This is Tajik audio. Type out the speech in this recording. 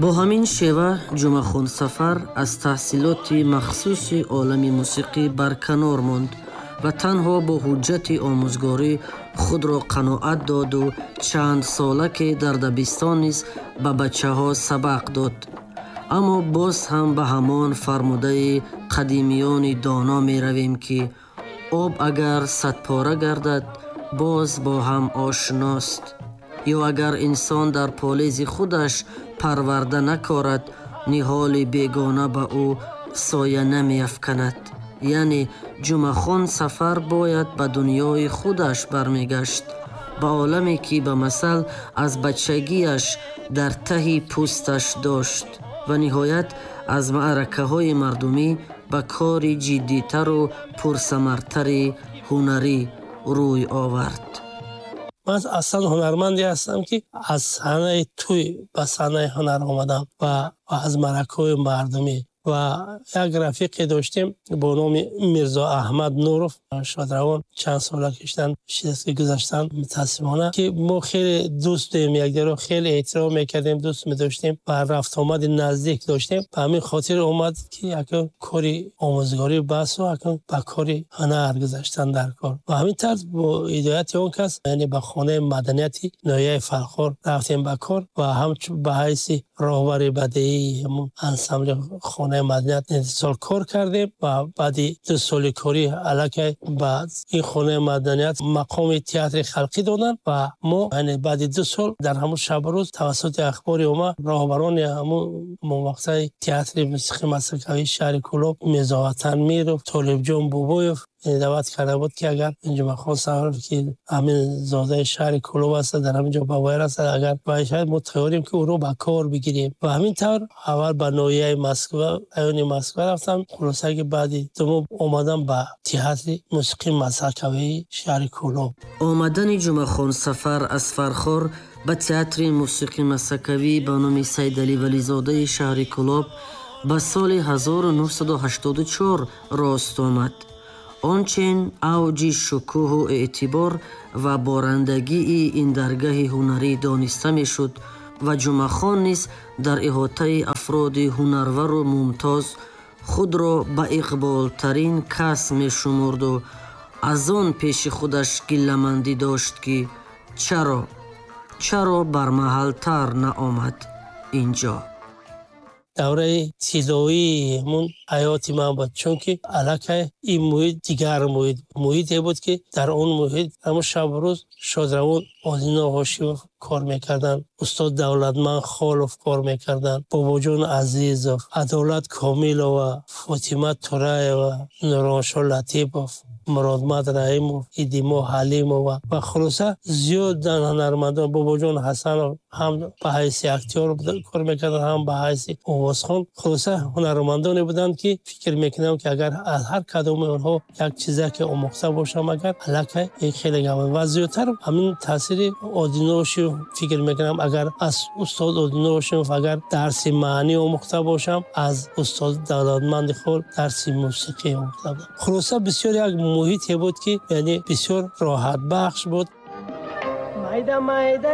Бо ҳамин шева Ҷумъахон Сафар аз таҳсилоти махсуси олами мусиқӣ барканор монд ва танҳо бо ҳуҷҷати омӯзгорӣ худро қаноат доду чанд сола ки дар дабистон низ ба бачаҳо сабақ дод. Аммо боз ҳам ба ҳамон фармудаи қадимиёни доно меравем, ки об агар садпора гардад, боз бо ҳам ошност, ё агар инсон дар полези худаш парварда накорад, ниҳоли бегона ба ӯ соя намеафканад. Яъне Ҷумъахон Сафар бояд ба дунёи худаш бармегашт, ба оламе, ки ба масал аз бачагиаш дар таҳи пӯсташ дошт ва ниҳоят аз маъракаҳои мардумӣ ба кори ҷиддитару пурсамартари ҳунарӣ рӯй овард. Ман аслан ҳунарманде ҳастам, ки аз саҳнаи тӯй ба саҳнаи ҳунар омадам ва аз маъракаҳои мардумӣ. Ва як рафиқе доштем бо номи Мирзо Аҳмад Нуров, шодравон, чанд сола киштан ки гузаштанд, мутаассифона, ки мо хеле дӯст будем, якдигарро хеле эҳтиром мекардем, дӯст медоштем ва рафтуомади наздик доштем. Ба ҳамин хотир омад, ки акнун кори омӯзгорӣ басу, акнун ба кори ҳунар гузаштан дар кор. Ва ҳамин тарз бо ҳидояти он кас, яъне ба хонаи маданияти ноҳияи Фархор рафтем ба кор ва ҳамчун ба ҳайси роҳбари бадеии ҳамун ансамбли хонаи маданият сол кор кардем. Ва баъди 2 соли корӣ аллакай ба ин хонаи маданият мақоми театри халқӣ доданд. Ва мо, яъне баъди 2 сол, дар ҳамун шабу рӯз тавассути ахбори омма роҳбарони ҳамун муваққатаи театри мусиқии масхакавии шаҳри Кӯлоб, Мирзоватан Миров, Толибҷон Бобоев даъват карда буд, ки агар Ҷумъахон Сафаров, ки ҳамин зодаи шаҳри Кӯлоб аст, дар ҳамин ҷо ба воя расад, агар шояд мо тайёрем, ки ӯро ба кор бигирем. Ва ҳамин тавр аввал ба ноҳияи Москва, райони Москва рафтам. Хулоса, ки баъди 2 моҳ омадам ба театри мусиқии масхакавии шаҳри Кӯлоб. Омадани Ҷумъахон Сафар аз Фархор ба театри мусиқии масхакавӣ ба номи Сайдалӣ Вализодаи шаҳри Кӯлоб ба соли 1984 рост омад. Он чен авҷи шукӯҳу эътибор ва борандагии ин даргаҳи ҳунарӣ дониста мешуд ва Ҷумъахон низ дар иҳотаи афроди ҳунарвару мумтоз худро ба иқболтарин кас мешумурду аз он пеши худаш гилламандӣ дошт, ки чаро, чаро бармаҳалтар наомад инҷо. Давраи тиллоии ҳамун ҳаёти ман буд, чунки аллакай ин муҳит дигар муҳит, муҳите буд, ки дар он муҳит ҳамун шабу рӯз шодравон Одино Ҳошимов кор мекарданд, устод Давлатманд Холов кор мекарданд, Бобоҷон Азизов, Адолат Комилова, Фотима Тураева, Нуроншо Латипов, Муродмад Раҳимов, Идимо Ҳалимова ва хулоса зиёдан ҳунармандон. Бобоҷон Ҳасанов ҳам ба ҳайси актёр кор мекарданд, ҳам ба ҳайси овозхон. Хулоса, ҳунармандоне буданд, ки фикр мекунам, ки агар аз ҳар кадоми онҳо як чизаке омӯхта бошам, агар аллакай хеле гап. Ва зиёдтар ҳамин таъсири Одино Ҳошимов, фикр мекунам, агар аз устод Одино Ҳошимов агар дарси маънӣ омӯхта бошам, аз устод Давлатманди Хол дарси мусиқӣ омӯхта будам. Хулоса, бисёр як муҳите буд, ки яъне бисёр роҳатбахш буд. Майда майда.